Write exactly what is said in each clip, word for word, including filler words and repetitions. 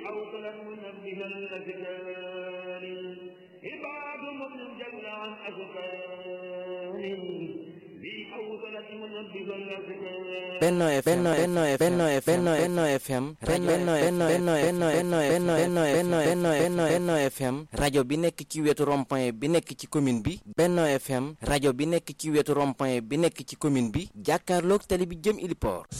أوصلا منبها الأذكار عباد مؤمن جل عن أذكار Benno F M Benno F M Benno Benno F M Benno Benno Benno Benno Benno Benno Benno Benno Benno Benno F M rajo bi nekk ci wetu rond-point bi nekk ci commune bi Benno F M rajo bi nekk ci wetu rond-point bi nekk ci commune bi jàkkaarloog tali bi jëm Iliport.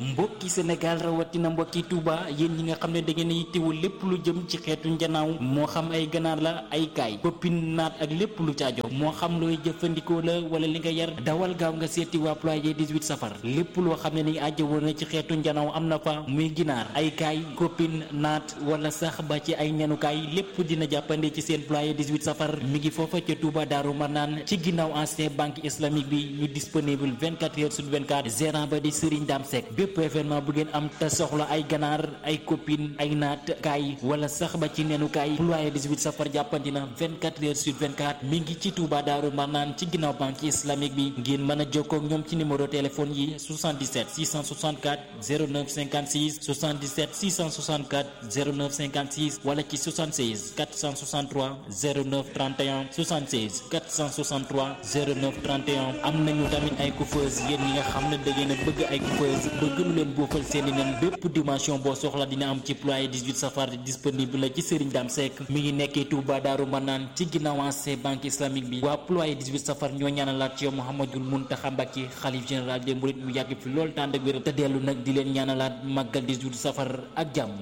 mbokki Sénégal rawatina mbokki Touba yéen ñi nga xam ne da ngeen a yittewul lépp lu jëm ci xeetu njanaaw moo xam ay ganaar la ay kaay koppin naat ak lépp lu caajo moo xam looy jëfandikoo la wala li nga yar dawal gaaw nga seeti waa ployer dix-huit safar lépp loo xam ne ni aajo na ci xeetu njanaaw am na fa muy ginaar ay kaay koppin naat wala sax ba ci ay ñanukaay lépp dina jàppande ci seen ployer dix-huit safar mi ngi foofa ca Touba Daaru Marnaan ci ginnaaw ancien banque islamique bi ñu disponible vingt-quatre heures sur vingt-quatre gérant ba di Serigne Dame Seck bépp événement bu ngeen am te soxla ay ganaar ay copine ay naat kaay wala sax ba ci nenu kaay ployer dix-huit safar jàppandi na vingt-quatre heures sur vingt-quatre mi ngi ci Touba Daaru Marnaan ci ginnaaw banque islamique bi ngeen mën a jokkoo ak ñoom ci numéro téléphone yi soixante-dix-sept six cent soixante-quatre zéro neuf cinquante-six soixante-dix-sept six cent soixante-quatre zéro neuf cinquante-six wala ci soixante-seize quatre cent soixante-trois zéro neuf trente et un soixante-seize quatre cent soixante-trois zéro neuf trente et un am nañu tamit ay coiffeuse yéen ñi nga xam ne da ngeen a bëgg ay coiffeuse bëgg lu leen boofal seeni nen bépp dimension boo soxla dina am ci ployer dix-huit safar disponible la ci Serigne Dame Seck mi ngi nekkee Touba Daaru Marnaan ci ginnaaw ancien banque islamique bi waa ployer dix-huit safar ñoo ñaanalaat ci yow Mouhamadoul Mountakha Mbacké xalif général des mourides mu yàgg fi lool tànd ak wér te dellu nag di leen ñaanalaat màggal dix-huit safar ak jàmm.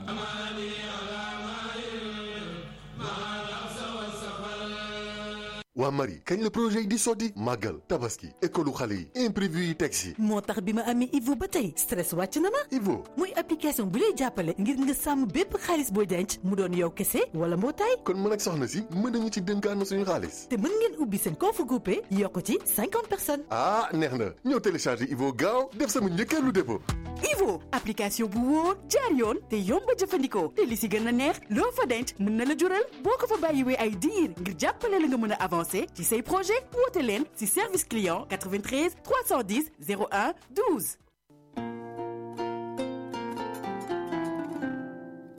waa Marie kañ la projet yi di sotti màggal tabaski école xale yi imprévu yi teg si moo tax bi ma amee Ivo ba tey stress wàcc na ma. Ivo muy application bu lay jàppale ngir nga sàmm bépp xaalis booy denc mu doon yow kese wala mbootaay. kon mën ak soxna si mën nañu ci dénkaan suñu xaalis. te mën ngeen ubbi seen compte groupé yokk ci cinquante personnes. ah neex na ñëw télécharger Ivo gaaw def sama njëkkeelu dépôt. Ivo application bu wóor jaar yoon te yomb a jëfandikoo te li si gën a neex loo fa denc mën na la jural boo ko fa bàyyiwee ay diir ngir jàppale la nga mën a avancer ci say projet woote leen ci service client quatre-vingt-treize trois cent dix zéro un douze.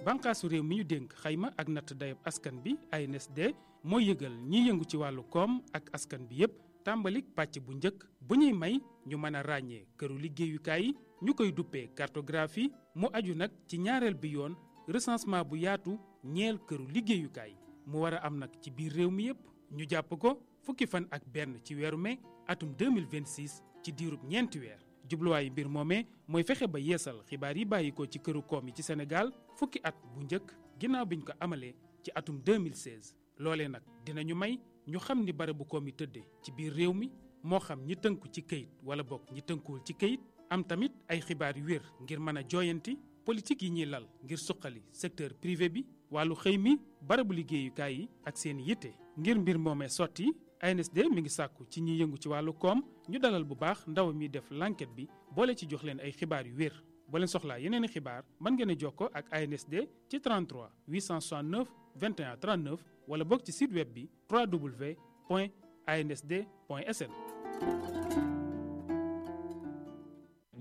bànqaasu réew mi ñu dénk xayma ak natt dayab askan bi A N S D mooy yëgal ñiy yëngu ci wàllu koom ak askan bi yépp tàmbalik pàcc bu njëkk bu ñuy may ñu mën a ràññee këru liggéeyukaay yi ñu koy duppee cartographie mu aju nag ci ñaareel bi yoon recensement bu yaatu ñeel këru liggéeyukaay mu war a am nag ci biir réew mi yépp ñu jàpp ko fukki fan ak benn ci weeru mai atum deux mille vingt-six ci diirub ñeenti weer jubluwaayu mbir moomee mooy fexe ba yeesal xibaar yi bàyyi ko ci këru koom yi ci Sénégal fukki at bu njëkk ginnaaw biñ ko amalee ci atum deux mille seize loolee nag dinañu may ñu xam ni barabu koom yi tëddee ci biir réew mi moo xam ñi tënku ci këyit wala bokk ñi tënkuwul ci këyit am tamit ay xibaar yu wér ngir mën a jooyanti politique yi ñuy lal ngir suqali secteur privé bi wàllu xëy mi barabu liggéeyukaay yi ak seen yitte ngir mbir moomee sotti A N S D mi ngi sàkku ci ñi yëngu ci wàllu koom ñu dalal bu baax ndaw mi def l'enquête bi boole ci jox leen ay xibaar yu wér boo leen soxlaa yeneen i xibaar mën ngeen a jokkoo ak A N S D ci trente-trois huit cent soixante-neuf vingt et un trente-neuf wala bokk ci site web bi w w w point a n s d point s n.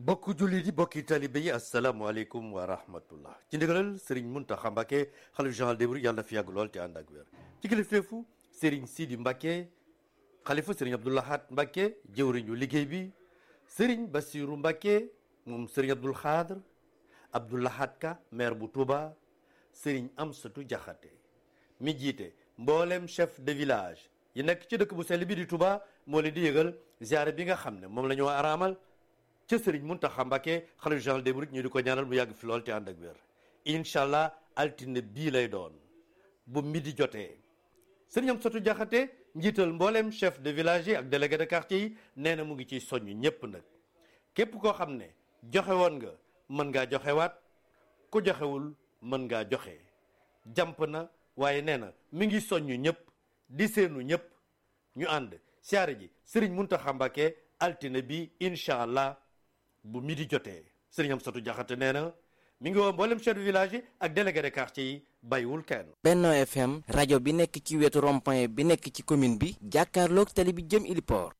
bokk jullit yi bokki talibe yi asalaamaaleykum wa rahmatullah ci ndigalal Serigne Mountakha Mbacké xalif général des mourides yàlla na fi yàgg lool te ànd ak wér ci kilifteefu Serigne Sidi Mbacké xalifa Serigne Abdou Lahad Mbacké jëwriñu liggéey bi Serigne Bassirou Mbacké moom Serigne Abdoul Khadr Abdou Lahad Ka maire bu Touba Serigne Amsatou Diakhaté mi jiite mboolem chef de village yi nekk ci dëkk bu sell bi di Touba moo leen di yëgal ziare bi nga xam ne moom la ñu araamal ca Serigne Mountakha Mbacké xalifa général des mourides ñu di ko ñaanal mu yàgg fi lool te ànd ak wér incha allah altine bii lay doon bu midi jotee Serigne Amsatou Diakhaté njiital mboolem chef de village yi ak délégué de quartier yi nee na mu ngi ciy soññ ñépp nag képp koo xam ne joxe woon nga mën ngaa joxewaat ku joxewul mën ngaa joxe jàmp na waaye nee na mi ngi soññ ñëpp di seenu ñëpp ñu ànd siyaare ji Serigne Mountakha Mbacké altine bi incha allah bu midi jotee Serigne Amsatou Diakhaté nee na mi ngi woo mboolem chef de village yi ak délégué de quartier yi bàyyiwul kenn. Benno F M rajo bi nekk ci wetu rond-point bi nekk ci commune bi jàkkaarloog tali bi jëm Iliport.